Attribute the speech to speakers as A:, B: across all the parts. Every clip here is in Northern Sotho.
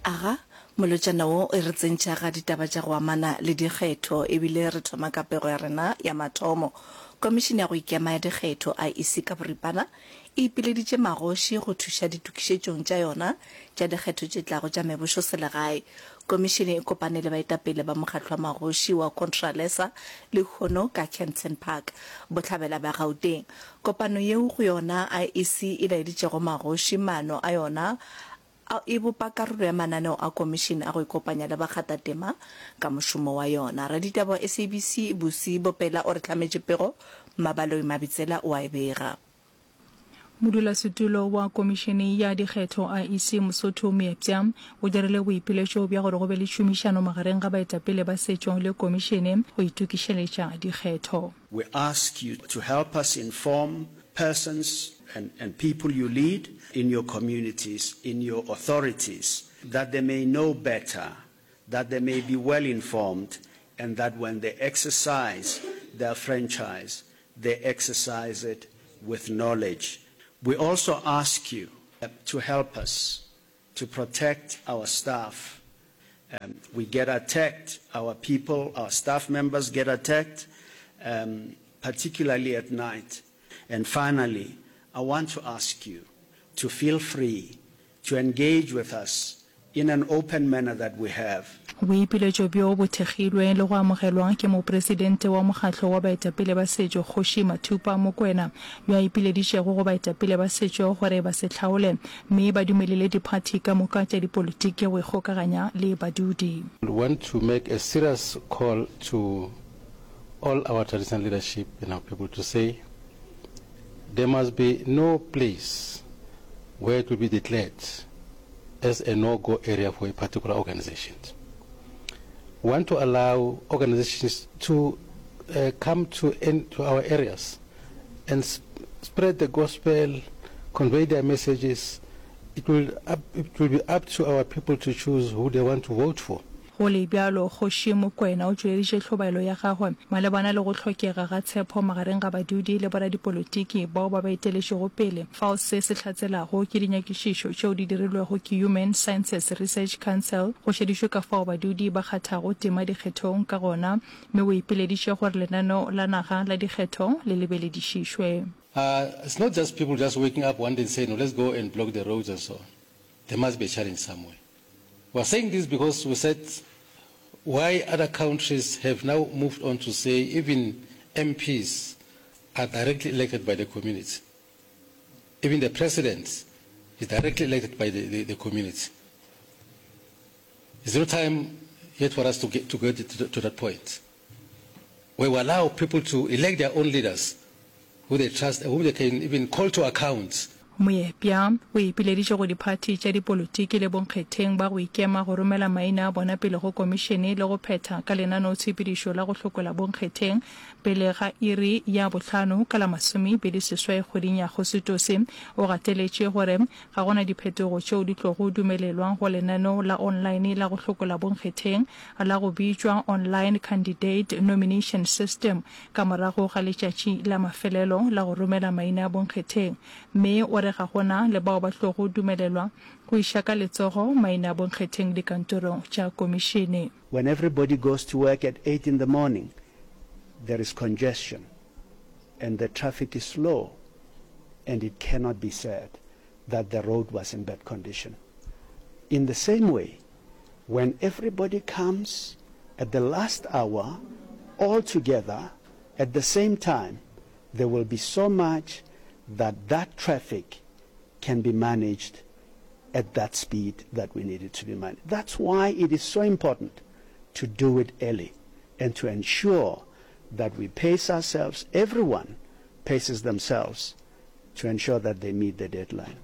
A: Aga, molotšana wo e re tsentšha ga ditaba tša go amana le dikgetho ebile re thoma ka pego ya rena ya mathomo. Komišene ya go Ikema ya Dikgetho, IEC ka boripana, e ipileditše magoši go thuša ditokišetšong tša yona tša dikgetho tše tlago tša mebošoselegae. Komišene e kopane le baetapele ba mokgatlo wa magoši wa Contralesa lehono ka Kempton Park, bohlabela bja Gauteng. Kopano yeo go yona IEC e laeditšego magoši maano a yona a e bopa karolo ya mananeo a komišene a go ikopanya le bakgathatema ka mošomo wa yona. Raditaba wa SABC, Busi Bopela o re hlametše pego, Mmabaloi Mabitsela o a e bega.
B: Modulasetulo wa Komišene ya Dikgetho, IEC, Mosotho Moepša, o dirile boipiletšo bja gore go be le tšhomišano magareng ga baetapele ba setšo le komišene go itokišeletša dikgetho.
C: We ask you to help us inform persons and, and people you lead in your communities, in your authorities, that they may know better, that they may be well informed, and that when they exercise their franchise, they exercise it with knowledge. We also ask you to help us to protect our staff. Um, we get attacked, our people, our staff members get attacked, um, particularly at night. And finally, I want to ask you to feel free to engage with us in an open manner that we have.
B: Boipiletšo bjo bo thekgilwe le go amogelwa ke Mopresidente wa Mokgatlo wa Baetapele ba Setšo Kgoši Mathupa Mokwena yo a ipileditšego go baetapele ba setšo gore ba se hlaole mme ba dumelele diphathi ka moka tša dipolotiki go ikgokaganya le badudi.
D: We want to make a serious call to all our traditional leadership and our people to say there must be no place where it will be declared as a no-go area for a particular organization. We want to allow organizations to uh, come to, in, to our areas and sp spread the gospel, convey their messages. It will, up, it will be up to our people to choose who they want to vote for.
B: Go le bjalo, Kgoši Mokwena o tšweleditše hlobaelo ya gagwe malebana le go hlokega ga tshepo magareng ga badudi le boradipolotiki bao ba ba eteletšego pele, fao se se hlatselago ke dinyakišišo tšeo di dirilwego ke Human Sciences Research Council go šedišwe ka fao badudi ba kgathago tema dikgethong ka gona, mme o ipileditše gore lenaneo la naga la dikgetho le lebeledišišwe.
D: It's not just people just waking up one day and say no let's go and block the roads and so on. There must be a challenge somewhere. We are saying this because we said why other countries have now moved on to say even MPs are directly elected by the community. Even the president is directly elected by the, the, the community. Is no time yet for us to get to, get to, to that point where we allow people to elect their own leaders who they trust and whom they can even call to account.
B: Moepya o ipileditše go diphathi tša dipolotiki le bonkgetheng ba go ikema go romela maina a bona pele go komišene le go phetha ka lenaneotshepedišo la go hlokola bonkgetheng pele ga iri ya bohlano ka la masomepedi-seswai kgweding ya Agositose. O gateletše gore ga go na diphetogo tšeo di tlogo dumelelwa go lenaneo la online la go hlokola bonkgetheng la go bitšwa Online Candidate Nomination System ka morago ga letšatši la mafelelo la go romela maina a bonkgetheng, mme o re ga go na le bao ba tlogo dumelelwa go iša ka letsogo maina a bonkgetheng dikantorong tša komišene.
C: When everybody goes to work at eight in the morning, there is congestion and the traffic is slow and it cannot be said that the road was in bad condition. In the same way, when everybody comes at the last hour all together at the same time, there will be so much that that traffic can be managed at that speed that we need it to be managed. That's why it is so important to do it early and to ensure that we pace ourselves, everyone paces themselves to ensure that they meet the deadline.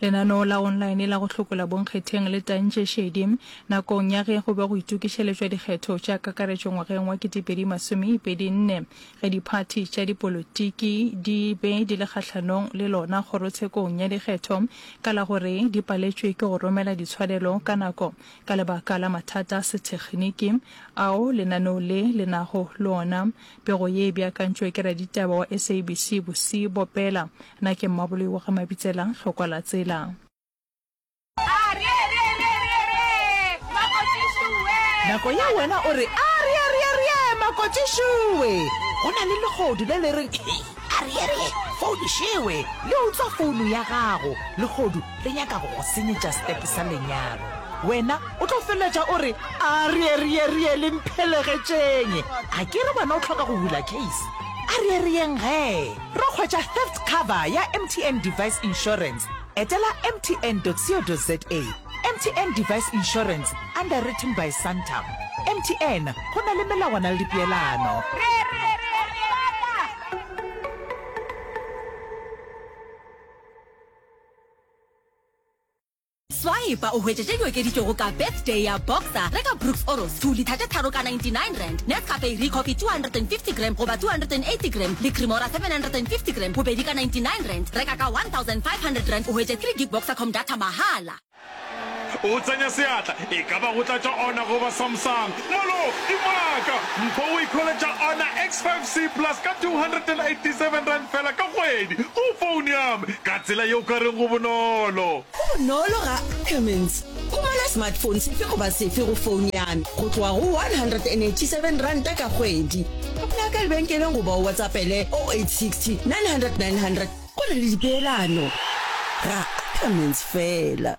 B: Lenaneo la online la go hlokola bonkgetheng le tantše šedi nakong ya ge go be go itokišeletšwa dikgetho tša kakaretšo ngwageng wa 2024 ge diphathi tša dipolotiki di be di le kgahlanong le lona kgorotshekong ya dikgetho ka la gore di paletšwe ke go romela ditshwanelo ka nako ka lebaka la mathata a sethekgniki ao lenaneo le le nago le ona. Pego ye e beakantšwe ke raditaba wa SABC Busi Bopela. Nna ke Mmaboloi wa ga Mabitsela, Hlokwa la Tsela.
E: Nako ye wena o re, Arieerierie, makoti šuwe! Go na le lehodu le le reng, Arierie, founu šewe! Le utswa founu ya gago. Lehodu le nyaka go go senyetša stepe sa lenyalo. Wena o tlo feleletša o re, Arieerierie, le mphelegetšeng! A ke re wena o hloka go bula case? Arierieng gee! Ro hwetša theft cover ya MTN Device Insurance. Etela mtn.co.za. MTN Device Insurance, underwritten by Santam. MTN, go na le melawana le dipeelano.
F: Swipa o hwetše tše di okeditšwego ka Birthday ya Boxer. Reka Brooks Oros 2 litha tše tharo ka R99, Nescafe Recoffee 250 gram goba 280 gram le Cremora 750 gram bobedi ka R99. Reka ka R1500 o hwetše 3 gig Boxercom data mahala.
G: O tsenya seatla, e ka ba go tlatša Honor goba Samsung. Molo, dimaka! Mpho o ikhweletša Honor X5C Plus ka R287 feela ka kgwedi go phone ya me. Ka tsela ye o ka reng go bonolo.
H: Go bonolo ga Cummins. Humana smartphone sefe goba sefe go phone ya me go tloga go R187 ka kgwedi. Tsena ka lebenkeleng goba o WhatsAppele 0860 900 900 Go na le dipeelano ga Ackermans fela.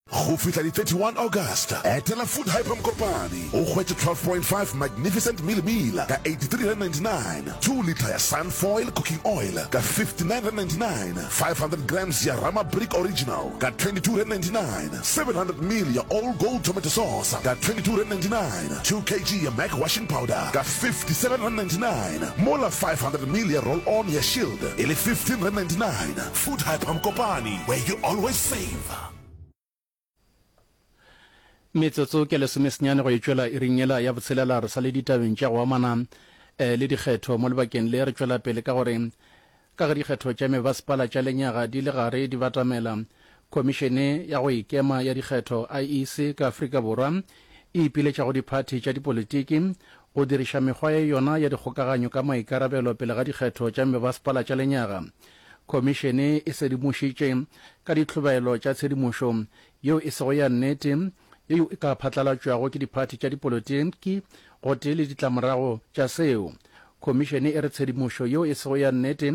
I: Go fihla di 31 August, etela Food Hyper Mokopane o hwetše 12.5 Magnificent Mealie Meal ka R83.99, 2 litre ya Sunfoil Cooking Oil ka R59.99, 500 grams ya Rama Brick Original ka R22.99, 700 ml ya All Gold Tomato Sauce ka R22.99, 2 kg ya Mac Washing Powder ka R57.99, mola 500 ml ya Roll-On ya Shield e le R15.99. Food Hyper Mokopane, where you always save.
J: Metsotso ke lesomesenyane go e tšwela iring yela ya botshelela re sa le ditabeng tša go amana eh, le dikgetho mo lebakeng le re tšwela pele ka gore ka ge dikgetho tša mebasepala tša lenyaga di le gare di batamela khomišene ya go ikema ya dikgetho IEC ka Afrika Borwa e ipiletša go diphathi tša dipolitiki go diriša mekgwa ya yona ya dikgokaganyo ka maikarabelo pele ga dikgetho tša mebasepala tša lenyaga Khomišene e sedimošitše ka ditlhobaelo tša tshedimošo yeo e sego ya nnete yeo e ka phatlalatšwago ke diphathi tša dipolotiki gotee le ditlamorago tša seo. Khomišene e re tshedimošo yeo e sego ya nnete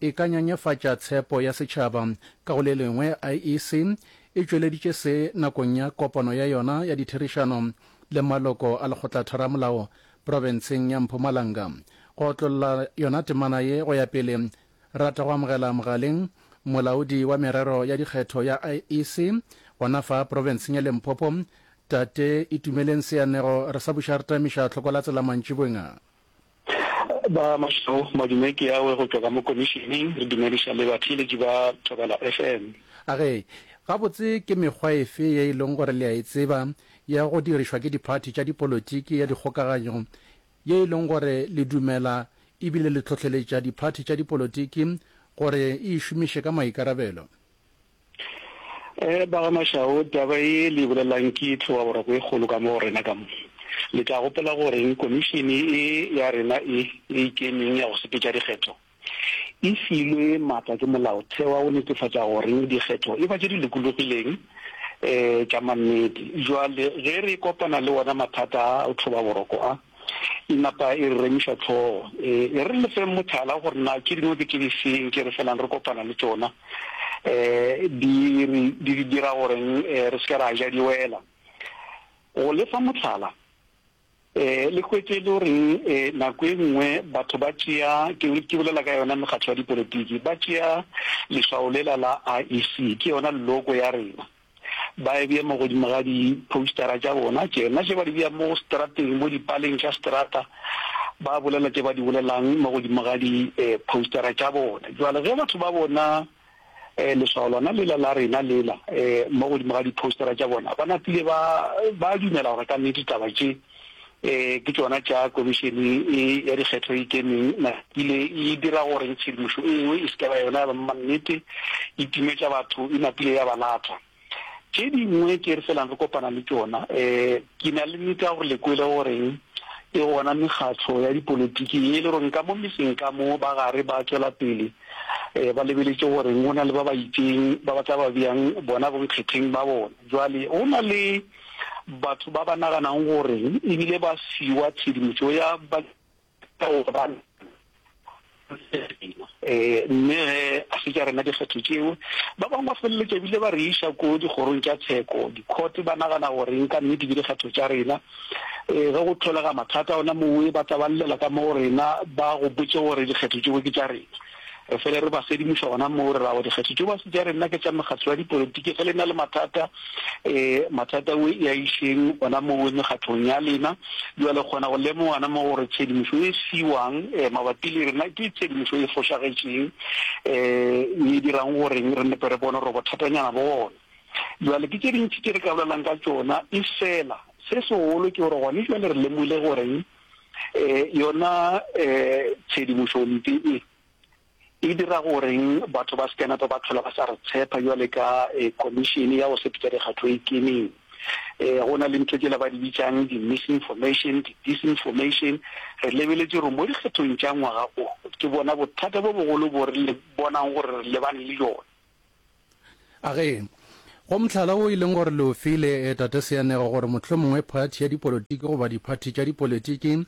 J: e ka nyanyefatša tshepo ya setšhaba. Ka go le lengwe, IEC e tšweleditše se nakong ya kopano ya yona ya ditherišano le maloko a lekgotlatheramolao profenseng ya Mpumalanga. Go otlolla yona temana ye go ya pele, Rata go amogela mogaleng Molaodi wa Merero ya Dikgetho ya IEC gona fa profenseng ya Limpopo, Tate Itumeleng Seanego. Re sa buša re tamiša tlhoko la tsela mantšiboeng a.
K: Ba Mašau, madume ke awe go tšwa ka mo komišeneng, re dumediša le batheeletši ba Thobela FM.
J: A ge, gabotse ke mekgwa efe ye e leng gore le a e tseba ya go dirišwa ke diphathi tša dipolotiki ya dikgokaganyo ye e leng gore le dumela e bile le hlohleletša diphathi tša dipolotiki gore e e šomiše ka maikarabelo.
K: Eh, ba ga Mashao, taba ye le e bolelang ke tlhobaboroko e kgolo ka mo go rena ka mo. Le tla gopola goreng komišene e ya rena e e ikemeng ya go sepetša dikgetho e filwe maatla ke molaotheo wa go netefatša goreng dikgetho e ba tše di lokologileng um tša mannete. Jwale ge re kopana le wona mathata a go tlhobaboroko a, e napa e re remiša hlogo. E re le feng mohlala gore na tše dingwe ke tše di feng tše re felang re kopana le tšona um di re di dira goreng re se ke ra ja di wela. Go le fa mohlala, um le hwetše e le goreng um nako e nngwe batho ba tšea, ke ke bolela ka yona mekgatlo ya dipolotiki, ba tšea leswao lela la IEC, ke yona logo ya rena. Ba e bea mo godimo ga di-postera tša bona, tšena tše ba di bea mo strateng, mo dipaleng tša strata, ba bolela tše ba di bolelang mo godimo ga di-postera tša bona. Jwale ge batho ba bona leswao lona lela la rena lela mo godimo ga di-postera tša bona, ba napile ba ba dumela gore ka nnete taba tše ke tšona tša komišene e ya dikgetho e ikemeng, napile e dira gore tshedimošo e nngwe e se ke ba yona ya mannete, e timetša batho, e napile ya ba latwa. Tše dingwe tše re felang re kopana le tšona, ke na le nnete ya gore le kwele goreng e gona mekgatlo ya dipolotiki ye e le goreng ka mo metseng ka mo ba gare ba tšwela pele ba lebeletše goreng go na le ba ba itšeng ba ba tla ba beang bona bonkgetheng ba bona. Jwale go na le. Batho ba ba naganang gore ebile ba fiwa tshedimošo ya ba gore ba Mme ge a se tša rena dikgetho tšeo, ba bangwe ba feleletša ebile ba re iša ko dikgorong tša tsheko, di-court, ba nagana gore ka nnete ke dikgetho tša rena. Ge go hlolega mathata gona mowe, ba tla ba llela ka mo go rena, ba gopotše gore dikgetho tšeo ke tša rena. Re fele re ba sedimoša gona moo, re ra gore dikgetho tšeo ga se tša rena, ke tša mekgatlo ya dipolotiki. Ge le na le mathata, e, mathata o e a išeng gona moo mekgatlong ya lena. Bjale kgona go lemoga gona mo gore tshedimošo e fiwang e, mabapi le rena ke tshedimošo e fošagetšeng, e, e dirang gore re nepe re bone gore bothatanyana bo gona. Bjale ke tše dintši tše re ka bolelang ka tšona, efela se segolo ke gore gone bjale re lemogile gore E, yona e, tshedimošompe e, e dira goreng batho ba se ke nape ba tlhola ba sa re tshepa bjale ka e, komišene ya go sepetša dikgatho e kemeng. E, go na le ntho tšela ba di bitšang di-misinformation, di-disinformation. Re lebeletše gore mo dikgethong tša ngwaga o, ke bona bothata bo bogolo bo re le bonang gore re lebane le bjona.
J: A ge, go mohlala wo e leng gore le o file, Tate Seanego, gore mohlomongwe phathi ya dipolotiki goba diphathi tša dipolotiki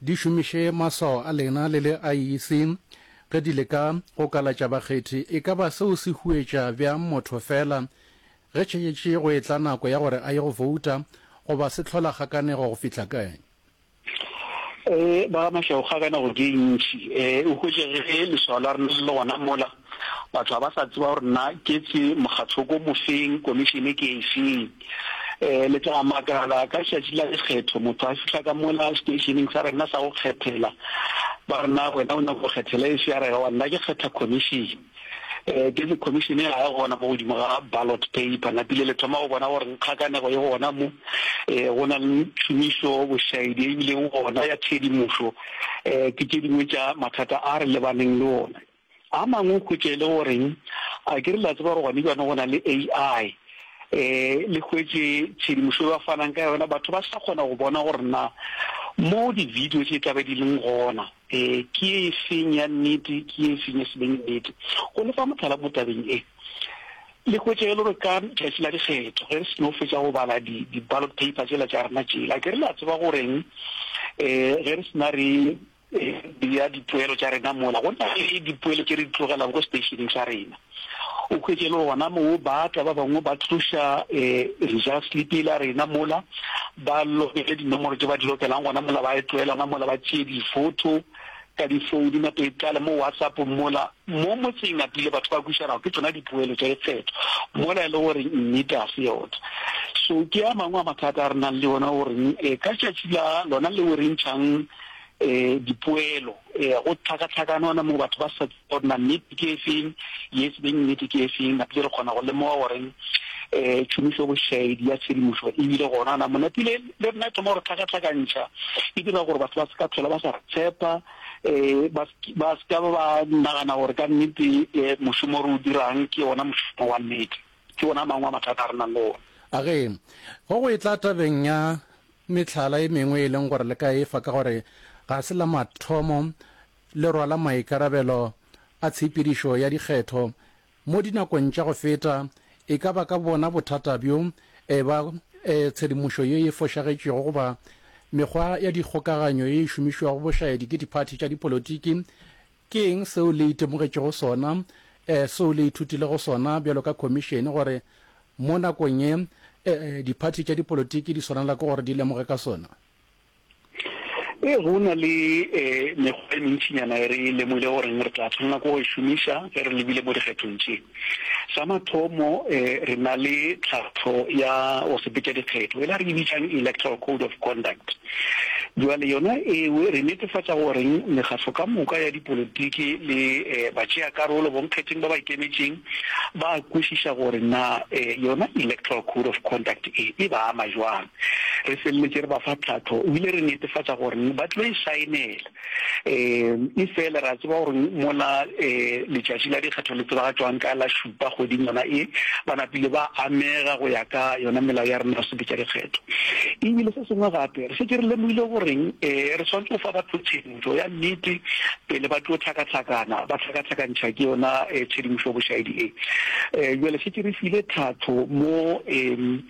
J: di šomiše maswao a lena le le IEC ge di leka go kalatša bakgethi, e ka ba seo se huetša bjang motho feela ge tšhetše go etla nako ya gore a ye go vouta goba se hlola kgakanego go fihla kae?
K: Ee, ba ga Mashau kgakanego ke e ntši. Ee, o hwetše ge leswao la rena le le gona mola, batho ga ba sa tseba gore na ke tse mokgatlo ko mofeng, komišene ke efeng. Ee, le tla makala ka letšatši la dikgetho motho a fihla ka mola seteišeneng sa rena sa go kgethela, ba re na wena o nyaka go kgethela efe, a re aowa nna ke kgetha komišene. Ke re commission ga e gona mo godimo ga ballot paper, napile le thoma go bona gore kgakanego e gona mo, go na le tšhomišo bošaedi e bileng gona ya tshedimošo, ke tše dingwe tša mathata a re lebaneng le ona. A mangwe o hwetša e le goreng, a ke re le a tseba gore gone bjano go na le AI, le hwetše tshedimošo e ba fanang ka yona, batho ba sa kgona go bona gore na mo di-video tše tla be di leng gona, Ee, ke ye e seng ya nnete, ke ye e seng ya se beng nnete. Go le fa mohlala mo tabeng e, le hwetše e le gore ka tšatši la dikgetho, ge re seno fetša go bala di, di ballot paper tšela tša rena tšela, ke re le a tseba goreng, um ge re sena re bea dipoelo tša rena mola, go na le dipoelo tše re di tlogelang ko stationeng sa rena. O hwetše e le gore gona moo ba tla ba bangwe ba tloša result slip yela rena mola, ba lokele dinomoro tše ba di lokelang gona mola, ba e tlohela gona mola, ba tšee di-photo ka di-phone nape e tlale mo WhatsApp mola. Mo motseng napile batho ba kwišana gore ke tšona dipoelo tša dikgetho mola e le gore nnete ga se yona. So ke a mangwe a mathata a re nang le ona gore ka tšatši la lona leo re ntšhang dipoelo go tlhakatlhakane gona moo batho ba sa Gore na nnete ke efeng, ye se beng nnete ke efeng, napile re kgona go lemoga gore um tšhomišo bošaedi ya tshedimošo e bile gona. Na monapile le rena e thoma go re tlhakatlhakantšha, e dira gore batho ba se ka tlhola ba sa re tshepa, um ba ba se ka ba nagana gore ka nnete um mošomo re o dirang ke ona mošomo wa nnete. Ke ona a mangwe a mathata a re nang le ona.
J: A ge go go etla tabeng ya mehlala e mengwe e leng gore le ka e fa ka gore ga se la mathomo le rwala maikarabelo a tshepedišo ya dikgetho mo dinakong tša go feta, e ka ba ka bona bothata bjo e ba tshedimošo ye e fošagetšego goba mekgwa ya dikgokaganyo ye e šomišwago bošaedi ke diphathi tša dipolotiki. Ke eng seo le itemogetšego sona, seo le ithutilego sona bjalo ka khomišene gore mo nakong ye diphathi tša dipolotiki di swanela ke gore di lemoge ka sona?
K: Ee, go na le mekgwa e mentšinyana e re lemogile goreng re tla tshwanela ke go e šomiša ge re lebile mo dikgethong tše. Sa mathomo, re na le tlhahlo ya go sepetša dikgetho, e la re e bitšang Electoral Code of Conduct. Bjale yona eo re netefatša goreng mekgatlo ka moka ya dipolotiki le batšeakarolo bonkgetheng ba ba ikemetšeng ba kwešiša gore na yona Electoral Code of Conduct e e ba ama jwang. Re feleletše re ba fa tlhahlo ebile re netefatša gore ba tlo e saenela. Um efela re a tseba gore mola um letšatši la dikgetho le tsebagatšwang ka la šupa kgweding yona e, ba napile ba amega go ya ka yona melao ya rena ya go sepetša dikgetho. Ebile se sengwe gape, re šetše re lemogile gore um re swanetše go fa batho tshedimošo ya nnete pele ba tlo hlakahlakana, ba hlakahlakantšha ke yona tshedimošo bošaedi e. Um bjale šetše re file tlhahlo mo um.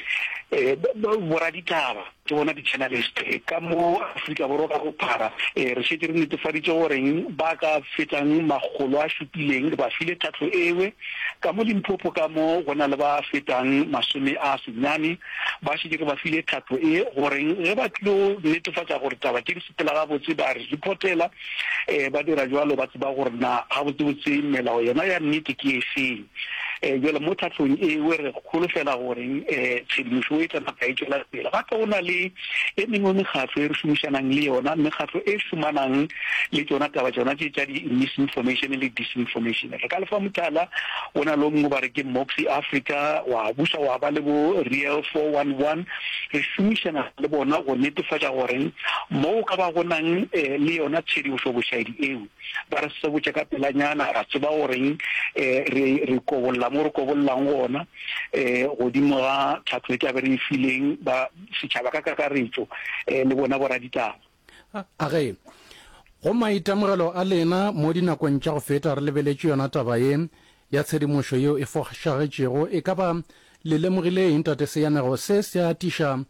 K: Boraditaba ke bona di-journalist ka mo Afrika Borwa ka bophara. Re šetše re netefaditše goreng ba ka fetang makgolo a šupileng re ba file tlhahlo ewe. Ka mo Limpopo ka mo go na le ba fetang 90 ba šetše re ba file tlhahlo e goreng ge ba tlilo netefatša gore taba tše di sepela gabotse ba re reportela. Ba dira bjalo ba tseba gore na gabotsebotse melao yona ya nnete ke efeng. Bjale mo tlhahlong ewe re holofela gore tshedimošo e tla napa e tšwela pele. Gape go na le e mengwe mekgatlo e re šomišanang le yona, mekgatlo e šomanang le tšona taba tšona tše tša di-misinformation le disinformation. Re ka le fa mohlala, go na le o mongwe ba re ke Moxie Africa, wa buša wa ba le bo Real 411. Re šomišana le bona go netefatša gore mo go ka ba go nang le yona tshedimošo bošaedi eo, Ba re sebotša ka pelanyana, ra tseba goreng re, re kobolla mo re kobollang gona, godimo ga tlhahlo e tla be re e fileng ba setšhaba ka kakaretšo, le bona boraditaba.
J: A ge, go maitemogelo a lena mo dinakong tša go feta re lebeletše yona taba ye ya tshedimošo yeo e fošagetšego, e ka ba le lemogile eng, Tate Seanego? Se se atiša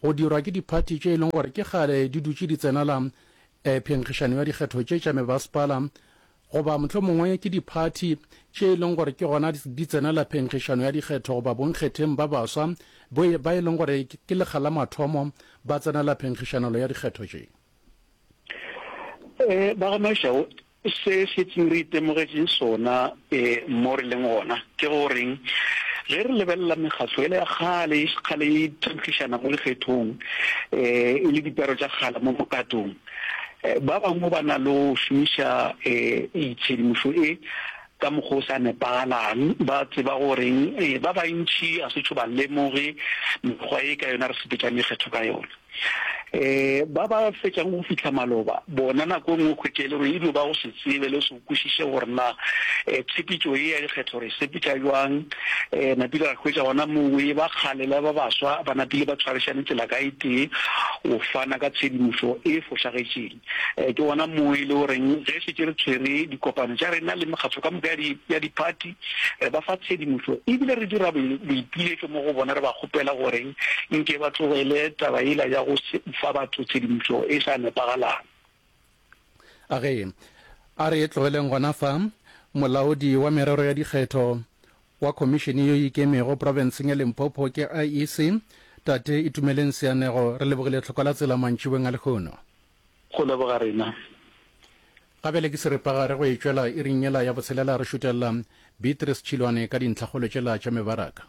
J: go dirwa ke diphathi tše e leng gore ke kgale di dutše di tsenela phenkgišano ya dikgetho tše tša mebasepala goba mohlomongwe ke diphathi tše e leng gore ke gona di tsenela phenkgišano ya dikgetho goba bonkgetheng ba baswa ba e leng gore ke lekga la mathomo ba tsenela phenkgišanelo ya dikgetho tše.
K: Ba ga Mashau, se šetšeng re itemogetšeng sona mo re leng gona ke goreng ge re lebelela mekgatlo yela ya kgale e kgale e phenkgišana mo dikgethong e le dipero tša kgale mo mokatong, ba bangwe ba na le go šomiša tshedimošo e ka mokgwa o sa nepagalang. Ba tseba goreng ba bantši ga se tšo ba lemoge mekgwa e ka yona re sepetšang dikgetho ka yona. Ba ba fetšang go fihla maloba bona nako e nngwe o hwetše e le gore e dio ba go se tsebe le go se kwešiše gore na tshepetšo ye ya dikgetho re e sepetša bjang. Napile ra hwetša gona mowe ba kgale le ba baswa ba napile ba tshwarišane tsela ka e tee go fana ka tshedimošo e fošagetšeng. Ke gona moo e le goreng ge šetše re tshwere dikopano tša rena le mekgatlo ka moka ya diphathi, re ba fa tshedimošo ebile re dira boipiletšo mo go bona re ba kgopela gore nke ba tlogele taba yela ya go fa batho tshedimošo e sa nepagalang.
J: A ge a re tlogeleng gona fa, molaodi wa merero ya dikgetho wa khomišene ye e ikemego profenseng ya Limpopo ke IEC, Tate Itumeleng Seanego, re lebogile tlhoko la tsela mantšiboeng a lehono.
K: Go leboga rena.
J: Ga bjale ke seripagare go e tšwela iring yela ya botshelela re šutelela Beatrice Tšhilwane ka dintlhakgolo tšela tša mebaraka.